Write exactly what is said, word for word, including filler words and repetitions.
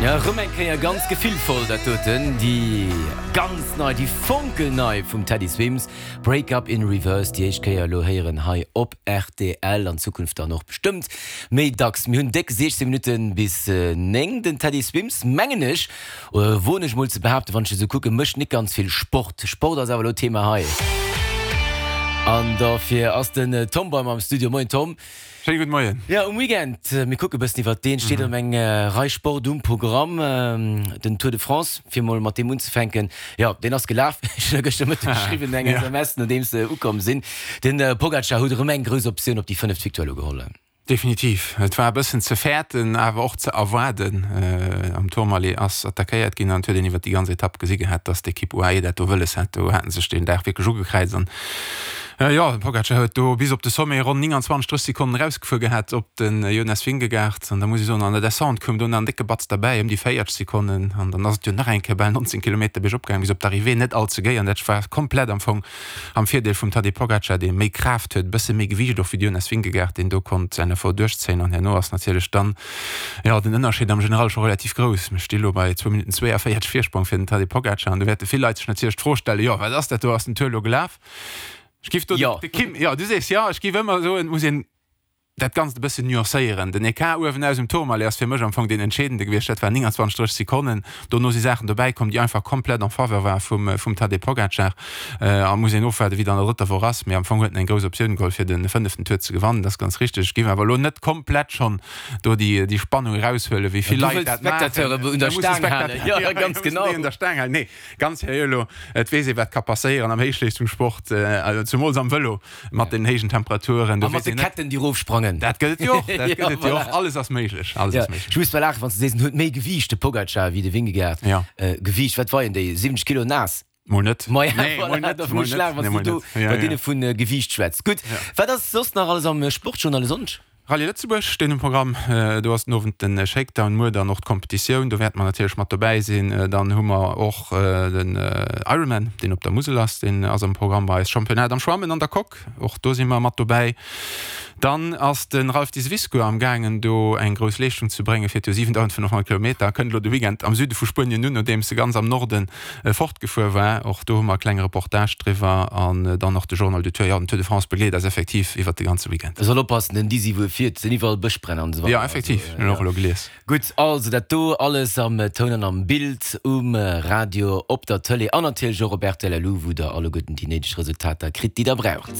Ja, rëm eng Kéier ganz gefillvoll dat doten, déi ganz nei, déi fonkelnei vum Teddy Swims, Break Up in Reverse, déi éischt Kéier elo héieren hei op rtl, an Zukunft dann och bestëmmt méi dacks. Mir hunn déck siechzéng Minutte bis néng. Den Teddy Swims, mengen ech, oder woen ech mol ze behaapten, wann ech esou kucken, mécht nik ganz vill Sport. Sport ass awer elo Thema hei. An dofir ass den Tom bei mer am Studio. Moien Tom. Schéine gudde Moien. Jo, um Weekend, mir kucke bëssen iwwert deen, steet erëm eng Rei Sport um Programm. Den Tour de France, fir mol mat deem unzefänken, jo, deen ass gelaf. Ech hunn der gëschter Mëtteg geschriwwen, eng S M S, nodeems se ukomm sinn. Den Pogacar huet erëm eng grouss Optioun op déi fënneft Victoire elo geholl. Definitiv. Et war e bëssen ze fäerten, awer och ze erwaarden. Am Tourmalet ass attackéiert ginn an et huet een iwwert déi ganz Etapp gesi gehat, dass d'Ekipp U A E dat do wëlles hat. Do hate sech deen Dag wierklech ugekräizt an jo, de Pogacar huet do bis op de Sommet ronn nénganzwanzeg, drësseg Sekonnen erausgefuer gehat op de Jonas Vingegaard. An da muss ech soen, an der Descente koum do nach en décke Batz derbäi, ëm déi véierzeg Sekonnen. An dann ass et jo nach eng Kéier bal nonzéng Kilometer biergop gaangen bis op d'Arrivée, net all ze géi. An dat war komplett am Fong am Virdeel vum Tadej Pogacar, dee méi Kraaft huet, e bësse méi Gewiicht och wéi de Jonas Vingegaard, deen do konnt säin Effort duerchzéien. An herno ass natierlech dann, jo, den Ënnerscheed am General scho relativ grouss. Mir sti lo bei zwou Minutten zwéiavéierzeg Virsprong fir den Tadej Pogacar. An do wäerte vill Leit sech natierlech d'Fro stellen, jo, wat ass dat do, ass den Tour lo gelaf? Ech giff do Jo. de Kim, jo, du sees jo, ech giff ëmmer soen, et muss een dat Ganzt e bëssen nuancéieren. Den Ecart uewen aus um Tourmalet ass fir mech am Fong deen entscheedende gewiescht. Dat war nénganzwanzeg, drësseg Sekonnen. Dono si Saachen dobäi komm, déi einfach komplett en faveur war vum, vum Tadej Pogacar. A muss een ofwaarden, wéi et an der drëtter Woch ass. Mee am Fong huet en eng grouss Optioun geholl, fir de fënneften Tour ze gewannen. Dat ass ganz richteg. Ech géif awer elo net komplett schonn do déi, déi Spannung eraushuelen, wéi vill Du Leit wëlls dat maachen. d'Spectateure un Da der muss de Staang halen. Spectateur, Jo, jo, ganz jo, mussen genau. déi un der Staang halen. Nee, ganz seriö elo, et weess ee wat ka passéieren am Héichleeschtungssport, zemools am Vëlo mat den héijen Temperaturen, do A mat weess de een net. Ketten, déi erofsprangen. Dat gëtt et jo och, dat Ja, gëtt et jo och. voilà. Alles ass méiglech, alles Ja, ass méiglech. ech muss bal laachen, wann s de sees, en huet méi Gewiicht, de Pogacar, wéi de Vingegaard. Ja. Gewiicht, wat weien déi? siwwenzeg Kilo naass? Mol net. Ma ja, Nee, mol voilà, net, dofir mol muss ech net, laachen, wann nee, s mol du do net. Ja, bei ja. deene vu Gewiicht schwätz. Gutt, wat ass soss nach alles am Sportjournal e Sonndeg? Rallye Lëtzebuerg steet um Programm. Do ass den Owend de Shakedown, muer dann och d'Competitioun. Do wäerte mer natierlech mat dobäi sinn. Dann hu mer och den Ironman, deen op der Musel ass, deen ass am Programm bei eis. Championnat am Schwammen an der Coque, och do si mer mat dobäi. Dann ass de Ralph Diseviscourt am gaangen do eng grouss Leeschtung ze bréngen, fiert jo siwentausendfënnefhonnert Kilometer, kënnt elo de Weekend am Süde vu Spuenien un, nodeems e ganz am Norde fortgefuer war. Och do hu mer e klenge Reportage driwwer an dann och de Journal du Tour. Jo, den Tour de France begleet eis effektiv iwwert de ganze Weekend. E soll oppassen, den Disi, wou e fiert, sinn iwwerall Bëschbränn an esou Jo, weider. effektiv, hunn och elo gelies. Gutt, also dat do alles am Toun an am Bild, um Radio, op der Tëlee an natierlech och op R T L Lu, wou der alleguerten déi néideg Resultater kritt, déi der braucht.